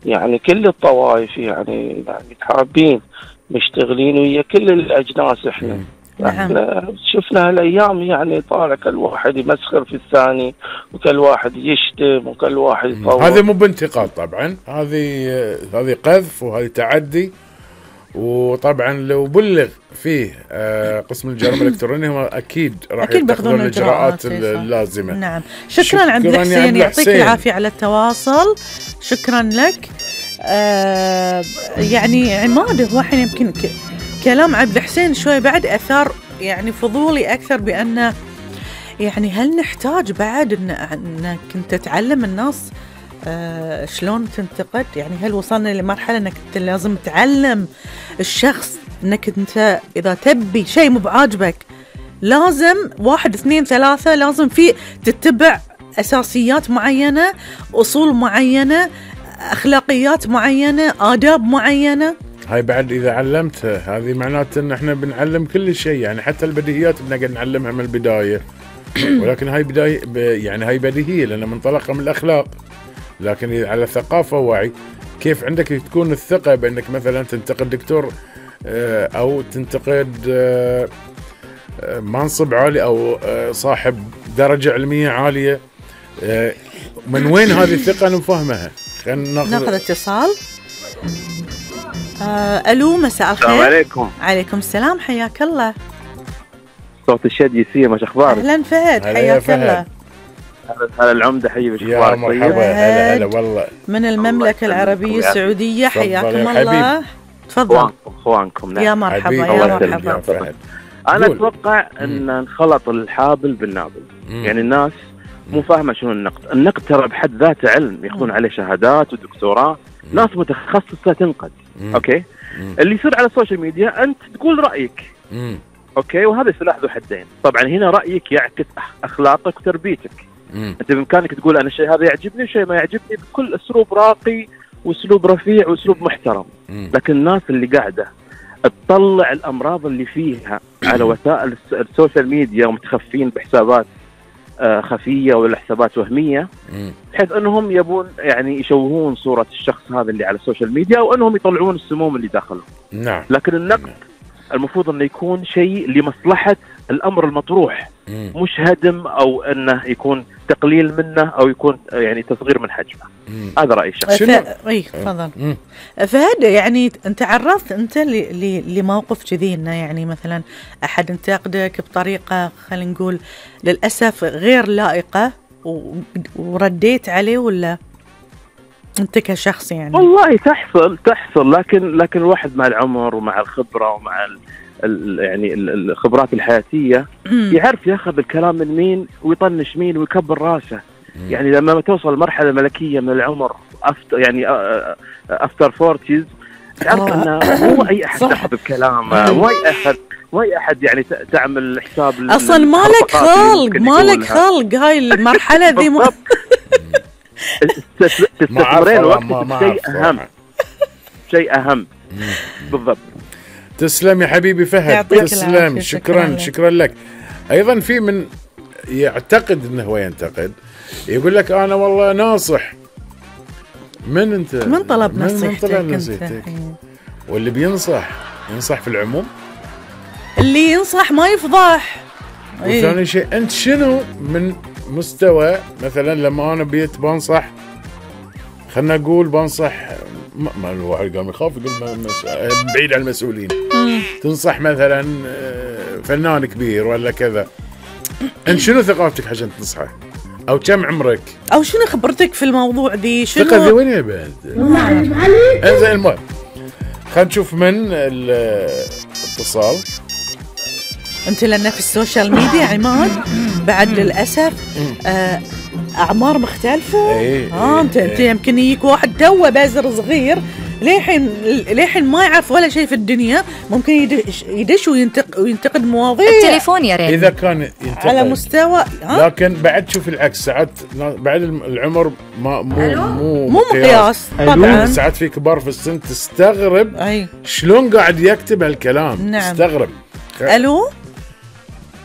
يعني كل الطوائف يعني حابين مشتغلين ويا كل الأجناس. إحنا شفنا هالأيام يعني طالع كل واحد يمسخر في الثاني، وكل واحد يشتم، وكل واحد يطور. هذا مو بانتقاد طبعا، هذه قذف وهذه تعدي. وطبعا لو بلغ فيه قسم الجرائم الإلكترونية هم أكيد راح يتخذون الإجراءات اللازمة. نعم. شكرا عبد الحسين، يعطيك العافية على التواصل. شكرا لك. يعني عماد، هو الحين يمكن كلام عبد الحسين شوي بعد أثار يعني فضولي أكثر، بأن يعني هل نحتاج بعد أنك أنت تعلم الناس شلون تنتقد؟ يعني هل وصلنا لمرحلة أنك أنت لازم تعلم الشخص أنك أنت إذا تبي شيء مو بعاجبك لازم 1 2 3 لازم في تتبع أساسيات معينة، أصول معينة، أخلاقيات معينة، آداب معينة؟ هاي بعد إذا علمتها هذه معناته إن إحنا بنعلم كل شيء، يعني حتى البديهيات بنقدر نعلمها من البداية. ولكن هاي بداية يعني هاي بديهية لأن منطلقها من الأخلاق. لكن إذا على ثقافة ووعي، كيف عندك تكون الثقة بأنك مثلا تنتقد دكتور أو تنتقد منصب عالي أو صاحب درجة علمية عالية؟ من وين هذه الثقة نفهمها؟ ناخذ اتصال. ألو، مساء الخير. السلام عليكم. عليكم السلام، حياك الله. صوت الشدي سيما، ما اخبارك؟ اهلا فهد، حياك الله. هلا العمدة، حبيبي، شو اخبارك؟ يا مرحبا. هلا والله من المملكة العربية السعودية، حياكم الله. تفضل. اخوانكم. يا مرحبا يا مرحبا. انا اتوقع ان انخلط الحابل بالنابل. يعني الناس مو فاهمة شنو النقد. النقد ترى بحد ذاته علم، ياخذون عليه شهادات ودكتوراه، ناس متخصصة تنقد. اوكي. اللي يصير على السوشيال ميديا انت تقول رأيك. اوكي، وهذا سلاح ذو حدين. طبعا هنا رأيك يعكس اخلاقك وتربيتك. انت بامكانك تقول انا الشيء هذا يعجبني وشيء ما يعجبني بكل اسلوب راقي واسلوب رفيع واسلوب محترم. لكن الناس اللي قاعده تطلع الامراض اللي فيها على وسائل السوشيال ميديا ومتخفين بحسابات خفيه ولا حسابات وهميه، بحيث انهم يبون يعني يشوهون صوره الشخص هذا اللي على السوشيال ميديا، او انهم يطلعون السموم اللي داخلهم. نعم. لكن النقد المفروض انه يكون شيء لمصلحه الامر المطروح، مش هدم او انه يكون تقليل منه او يكون يعني تصغير من حجمه. هذا رايي الشخصي. تفضل فهد. يعني انت عرضت انت لموقف كذي، انه يعني مثلا احد انتقدك بطريقه خلينا نقول للاسف غير لائقه ورديت عليه، ولا انت كشخص يعني؟ والله تحصل لكن الواحد مع العمر ومع الخبره ومع يعني الخبرات الحياتيه يعرف ياخذ الكلام من مين ويطنش مين ويكبر راسه. يعني لما توصل مرحله ملكيه من العمر يعني افتر 40 تعرف انه مو اي احد تاخذ بكلامه، مو اي احد يعني تعمل حساب اصلا مالك خلق هاي المرحله ذي. تستثمرين وقتك شيء اهم. بالضبط. تسلم يا حبيبي فهد، تسلم. شكرا لك. ايضا في من يعتقد انه هو ينتقد، يقول لك انا والله ناصح. من انت؟ من طلب نصيحتك؟ واللي بينصح ينصح في العموم، اللي ينصح ما يفضح. وثاني شيء انت شنو من مستوى مثلا لما انا بيت بنصح، خلنا نقول بنصح ما الواحد قام يخاف يقول بعيد عن المسؤولين. تنصح مثلا فنان كبير ولا كذا، انت شنو ثقافتك عشان تنصحه؟ او كم عمرك؟ او شنو خبرتك في الموضوع دي؟ شنو ثقة ذي وين يا بعد؟ انزين المهم خلينا نشوف من الاتصال. انت لان في السوشيال ميديا عماد بعد للاسف اعمار مختلفه. انت يمكن يجيك واحد توه بازر صغير ليحين ما يعرف ولا شيء في الدنيا، ممكن يدش وينتقد مواضيع. التليفون يا ريت اذا كان ينتقد على مستوى لكن بعد شوف العكس، ساعات بعد العمر مو مقياس. طبعا ساعات في كبار في السن تستغرب شلون قاعد يكتب هالكلام. نعم. تستغرب.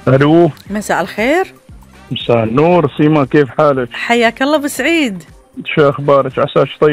الو، مساء الخير. مساء النور سيما، كيف حالك؟ حياك الله بسعيد. شو اخبارك؟ عساك طيب؟